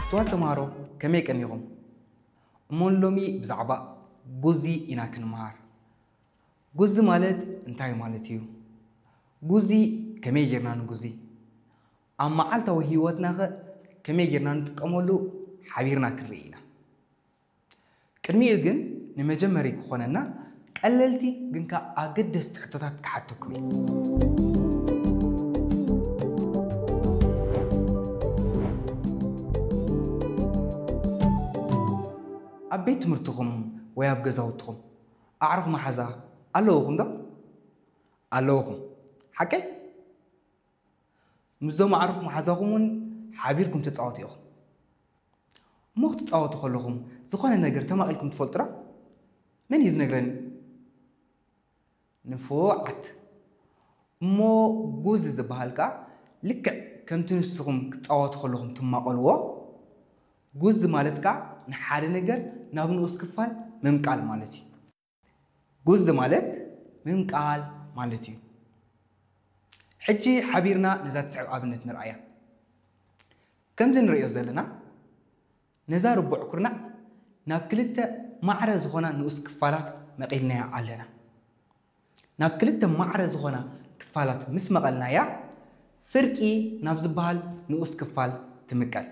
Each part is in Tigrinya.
ክቡራት ተምሃሮ፣ ከመይ ቀኒኹም? እሞ ሎሚ ብዛዕባ ጉዚ ኢና ክንምሃር። ጉዚ ማለት እንታይ ማለት እዩ? ጉዚ ከመይ ጌርና ንጉዚ? ኣብ መዓልታዊ ህይወትናኸ ከመይ ጌርና ንጥቀመሉ ሓቢርና ክንርኢ ኢና። ቅድሚኡ ግን ንመጀመሪ ክኾነና ቀለልቲ ግን ከኣ ኣገደስቲ ሕቶታት ክሓተኩም እዩ። ኣብ ቤት ትምህርትኹም ወይ ኣብ ገዛውትኹም ኣዕሩኽ መሓዛ ኣለውኹም ዶ? ኣለውኹም። ሓቀይ? ምስዞም ኣዕሩኽ መሓዛኹም እውን ሓቢርኩም ትጻወቱ ኢኹም። እሞ ክትጻወቱ ከለኹም ዝኾነ ነገር ተማቒልኩም ትፈልጡ ዶ? መን እዩ ዝነግረኒ? ንፉዓት። እሞ ጉዚ ዝበሃል ከኣ ልክዕ ከምቲ ንስኹም ክትጻወቱ ከለኹም ትማቐልዎ፣ ጉዚ ማለት ከኣ ንሓደ ነገር ናብ ንኡስ ክፋል ምምቃል ማለት እዩ። ጉዚ ማለት ምምቃል ማለት እዩ። ሕጂ ሓቢርና ነዛ ትስዕብ ኣብነት ንርኣያ። ከምዚ ንርእዮ ዘለና፣ ነዛ ርቡዕ ኩርናዕ ናብ ክልተ ማዕረ ዝኾና ንኡስ ክፋላት መቒልናያ ኣለና። ናብ ክልተ ማዕረ ዝኾና ክፋላት ምስ መቐልናያ፣ ፍርቂ ናብ ዝበሃል ንኡስ ክፋል ትምቀል።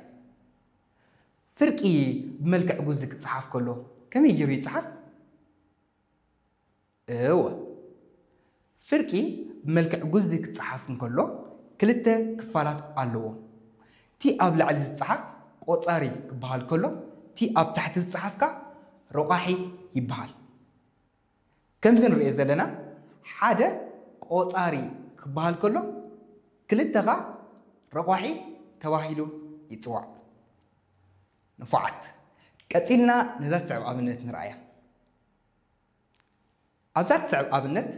ፍርቂ ብመልክዕ ጉዚ ክጸሓፍ ከሎ ከመይ ገይሩ ይጸሓፍ? እወ፣ ፍርቂ ብመልክዕ ጉዚ ክጸሓፍ እንከሎ ክልተ ክፋላት ኣለዎ። እቲ ኣብ ላዕሊ ዝጸሓፍ ቆጻሪ ክበሃል ከሎ፣ እቲ ኣብ ታሕቲ ዝጸሓፍ ከኣ ረቋሒ ይበሃል። ከምዚ ንርእዮ ዘለና፣ ሓደ ቆጻሪ ክበሃል ከሎ፣ ክልተ ከኣ ረቋሒ ተባሂሉ ይጽዋዕ። ንፉዓት። ቀጺልና ነዛ ትስዕብ ኣብነት ንርኣያ። ኣብዛ ትስዕብ ኣብነት፣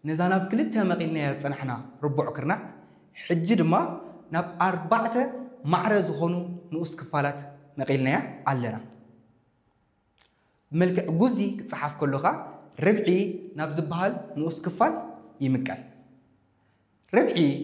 ነዛ ናብ ክልተ መቒልናያ ዝጸናሕና ርቡዕ ክርናዕ፣ ሕጂ ድማ ናብ ኣርባዕተ ማዕረ ዝኾኑ ንኡስ ክፋላት መቒልናያ ኣለና። ብመልክዕ ጉዚ ክጸሓፍ ከሎ ከኣ፣ ርብዒ ናብ ዝበሃል ንኡስ ክፋል ይምቀል። ርብዒ